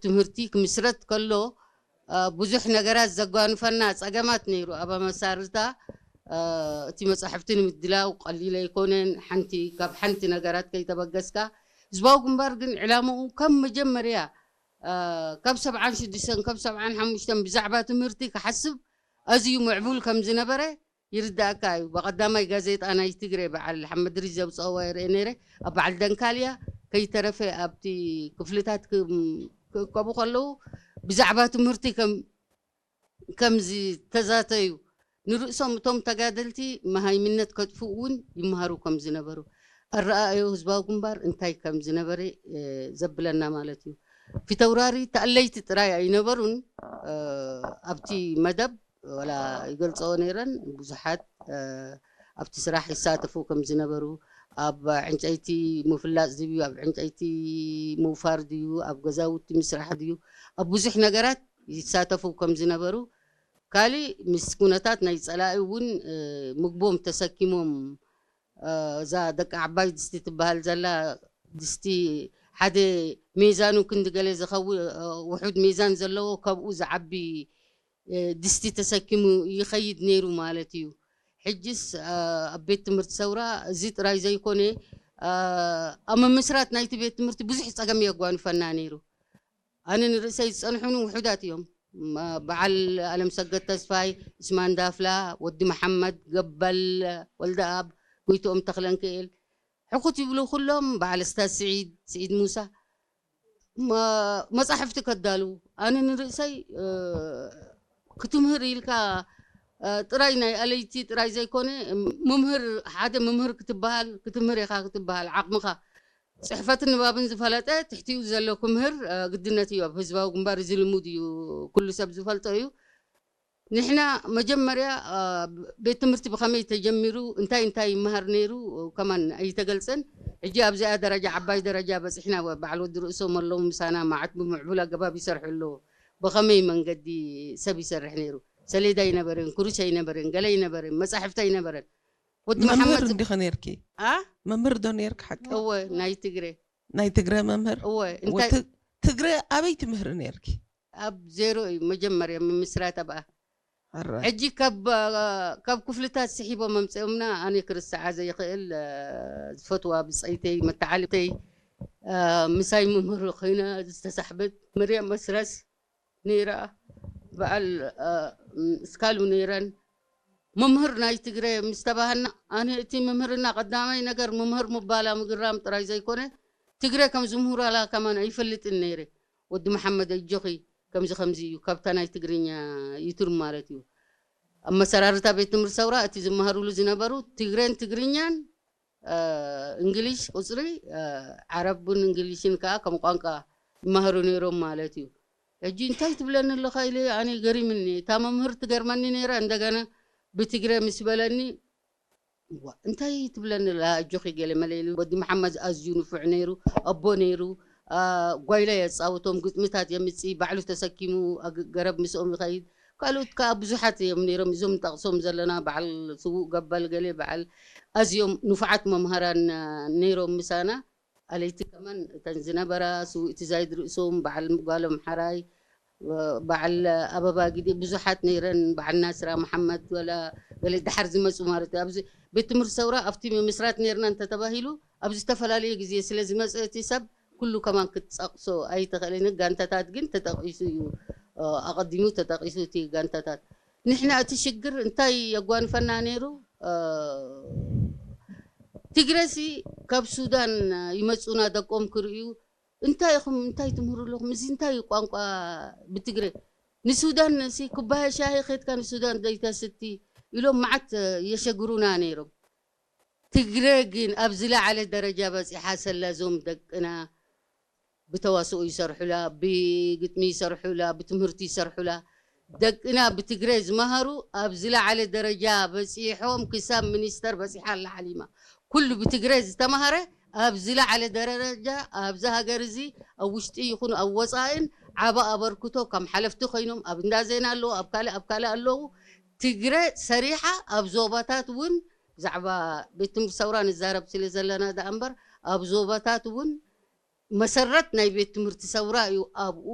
ትምህርቲ ክምስረት ከሎ ብዙሕ ነገራት ዘጓንፈና ጸገማት ነይሩ። ኣብ ኣመሳርታ እቲ መጻሕፍቲ ንምድላው ቀሊል ኣይኮነን። ሓንቲ ካብ ሓንቲ ነገራት ከይተበገስካ፣ ህዝባዊ ግንባር ግን ዕላምኡ ከም መጀመርያ ካብ ሰብዓን ሽዱሽተን ካብ ሰብዓን ሓሙሽተን ብዛዕባ ትምህርቲ ክሓስብ ኣዝዩ ምዕቡል ከም ዝነበረ ይርዳእካ እዩ። ብቐዳማይ ጋዜጣ ናይ ትግሬ በዓል ሓመድ ድሪሽ ዘውፅኣዋ ይርአ ነይረ። ኣብ በዓል ደንካልያ ከይተረፈ ኣብቲ ክፍልታት ክእከቡ ከለዉ ብዛዕባ ትምህርቲ ከም ከም ዝተዛተዩ ንርእሶም እቶም ተጋደልቲ መሃይምነት ከጥፍኡ እውን ይመሃሩ ከም ዝነበሩ ኣረኣእዮ ህዝባዊ ግንባር እንታይ ከም ዝነበረ ዘብለና ማለት እዩ። ፊተውራሪ ተኣለይቲ ጥራይ ኣይነበሩን ኣብቲ መደብ ወላ ይገልፅኦ ነይረን። ብዙሓት ኣብቲ ስራሕ ይሳተፉ ከም ዝነበሩ፣ ኣብ ዕንጨይቲ ምፍላፅ ድዩ፣ ኣብ ዕንጨይቲ ምውፋር ድዩ፣ ኣብ ገዛውቲ ምስራሕ ድዩ፣ ኣብ ብዙሕ ነገራት ይሳተፉ ከም ዝነበሩ፣ ካሊእ ምስ ኩነታት ናይ ፀላኢ እውን ምግቦም ተሰኪሞም እዛ ደቂ ዓባይ ድስቲ ትበሃል ዘላ ድስቲ ሓደ ሜዛኑ ክንዲ ገለ ዝኸውን ውሑድ ሜዛን ዘለዎ ከብኡ ዝዓቢ ድስቲ ተሰኪሙ ይኸይድ ነይሩ ማለት እዩ። ሕጅስ ኣብ ቤት ትምህርቲ ሰውራ እዚ ጥራይ ዘይኮነ ኣብ ምምስራት ናይቲ ቤት ትምህርቲ ብዙሕ ጸገም የጓንፈና ነይሩ። ኣነ ንርእሰይ ዝጸንሑኒ ውሑዳት እዮም። በዓል ኣለምሰገድ ተስፋይ፣ እስማን ዳፍላ፣ ወዲ መሓመድ፣ ገበል ወልደኣብ፣ ጎይትኦም ተኽለንክኤል፣ ሕኩት ይብሉ ኩሎም፣ በዓል እስታዝ ስዒድ፣ ስዒድ ሙሳ፣ መጻሕፍቲ ከዳልዉ። ኣነ ንርእሰይ ክትምህር ኢልካ ጥራይ ናይ ኣለይቲ ጥራይ ዘይኮነ፣ ምምህር፣ ሓደ ምምህር ክትበሃል፣ ክትምህር ኢኻ ክትበሃል፣ ዓቕምኻ ጽሕፈትን ንባብን ዝፈለጠ ትሕቲኡ ዘሎ ክምህር ግድነት እዩ። ኣብ ህዝባዊ ግንባር እዚ ልሙድ እዩ፣ ኩሉ ሰብ ዝፈልጦ እዩ። ንሕና መጀመርያ ቤት ትምህርቲ ብኸመይ ተጀሚሩ፣ እንታይ እንታይ ይመሃር ነይሩ ከማን ኣይተገልጸን። ሕጂ ኣብዚኣ ደረጃ፣ ዓባይ ደረጃ በጺሕና። በዓል ወዲ ርእሶም ኣለዉ ምሳና፣ መዓት ብምዕቡል ኣገባብ ይሰርሑ ኣለዉ። ብኸመይ መንገዲ ሰብ ይሰርሕ ነይሩ? ሰሌዳ ኣይነበረን፣ ኩርሽ ኣይነበረን፣ ገለ ኣይነበረን፣ መጻሕፍቲ ኣይነበረን። ወዲ መምህር መሓመድ እንዲኸ ነይርኪ? ኣ መምህር ዶ ነይርክ ሓቂ? እወ፣ ናይ ትግረ። ናይ ትግረ መምህር? እወ፣ እንታይ ወቲ- ትግረ ኣበይ ትምህሪ ነይርኪ? ኣብ ዜሮ እዩ መጀመርያ ምምስራት ኣብኣ። ሕጂ ካብ ካብ ክፍልታት ስሒቦም መምፅኦምና ኣነ ክርስዓ ዘይኽእል ዝፈትዋ ብፀይተይ መተዓልተይ ምሳይ መምህር ኮይና ዝተሳሕበት መርያም መስረስ ነይራ። በዓል እስካሉ ነይረን። መምህር ናይ ትግረ ምስ ተባሃልና ኣነ እቲ መምህርና ቀዳማይ ነገር መምህር ምባላ ምግራም ጥራይ ዘይኮነ ትግረ ከም ዝምህራላ ከማን ኣይፈልጥን ነይረ። ወዲ መሓመድ ኣጆኺ ከምዚ ከምዚ እዩ ካብታ ናይ ትግርኛ ይቱር ማለት እዩ። ኣብ መሰራርታ ቤት ትምህርቲ ሰውራ እቲ ዝመሃሩሉ ዝነበሩ ትግረን ትግርኛን እንግሊሽ ቁፅሪ ዓረብን እንግሊሽን ከዓ ከም ቋንቋ ይመሃሩ ነይሮም ማለት እዩ። ሕጂ እንታይ ትብለኒ ኣለኻ ኢለ ኣነ ገሪምኒ። እታ መምህር ትገርመኒ ነይራ። እንደገና ብትግረ ምስ በለኒ ዋ እንታይ ትብለኒ ኣላ ኣጆኺ ገለ መለ ኢሉ። ወዲ መሓመድ ኣዝዩ ንፉዕ ነይሩ፣ ኣቦ ነይሩ። ጓይላ የፃውቶም፣ ግጥምታት የምፅእ፣ ባዕሉ ተሰኪሙ ገረብ ምስኦም ይኸይድ። ካልኦት ከዓ ብዙሓት እዮም ነይሮም፣ እዞም ንጠቕሶም ዘለና በዓል ስዉእ ገበል ገለ በዓል ኣዝዮም ንፉዓት መምሃራን ነይሮም ምሳና። ኣለይቲ ከማን እተን ዝነበራ ስውእቲ ዛይድ ርእሶም፣ በዓል ጓሎም ሓራይ፣ በዓል ኣበባ ግዲ ብዙሓት ነይረን፣ በዓል ናስራ መሓመድ ወላ ገለ ደሓር ዝመፁ ማለት እዩ። ኣብዚ ቤት ትምህርቲ ሰውራ ኣብቲ ምምስራት ነይርና እንተተባሂሉ ኣብ ዝተፈላለየ ግዜ ስለ ዝመፀ እቲ ሰብ ኩሉ ከማን ክትፀቕሶ ኣይትኽእልን። ጋንታታት ግን ተጠቒሱ እዩ፣ ኣቐዲሙ ተጠቒሱ እቲ ጋንታታት። ንሕና እቲ ሽግር እንታይ የጓንፈና ነይሩ? ትግረሲ ካብ ሱዳን ይመፁና ደቆም ክርእዩ እንታይ ኢኹም እንታይ ትምህሩ ኣለኹም እዚ እንታይ እዩ ቋንቋ ብትግረ ንሱዳን ሲ ኩባያ ሻሂ ከድካ ንሱዳን ዘይተስቲ ኢሎም መዓት የሸግሩና ነይሮም። ትግረ ግን ኣብ ዝለዓለ ደረጃ በፂሓ ሰላ እዞም ደቅና ብተዋስኦ ይሰርሑላ፣ ብግጥሚ ይሰርሑላ፣ ብትምህርቲ ይሰርሑላ። ደቅና ብትግረ ዝመሃሩ ኣብ ዝለዓለ ደረጃ በፂሖም ክሳብ ሚኒስተር በፂሓ ኣላ ሓሊማ። ኩሉ ብትግረ ዝተማሃረ ኣብ ዝለዓለ ደረጃ ኣብዚ ሃገር እዚ ኣብ ውሽጢ ይኹን ኣብ ወፃእን ዓቢ ኣበርክቶ ከም ሓለፍቲ ኮይኖም ኣብ እንዳ ዜና ኣለዉ፣ ኣብ ካልእ ኣብ ካልእ ኣለዉ። ትግረ ሰሪሓ ኣብ ዞባታት እውን ብዛዕባ ቤት ትምህርቲ ሰውራ ንዛረብ ስለ ዘለና ደኣ እምበር ኣብ ዞባታት እውን መሰረት ናይ ቤት ትምህርቲ ሰውራ እዩ ኣብኡ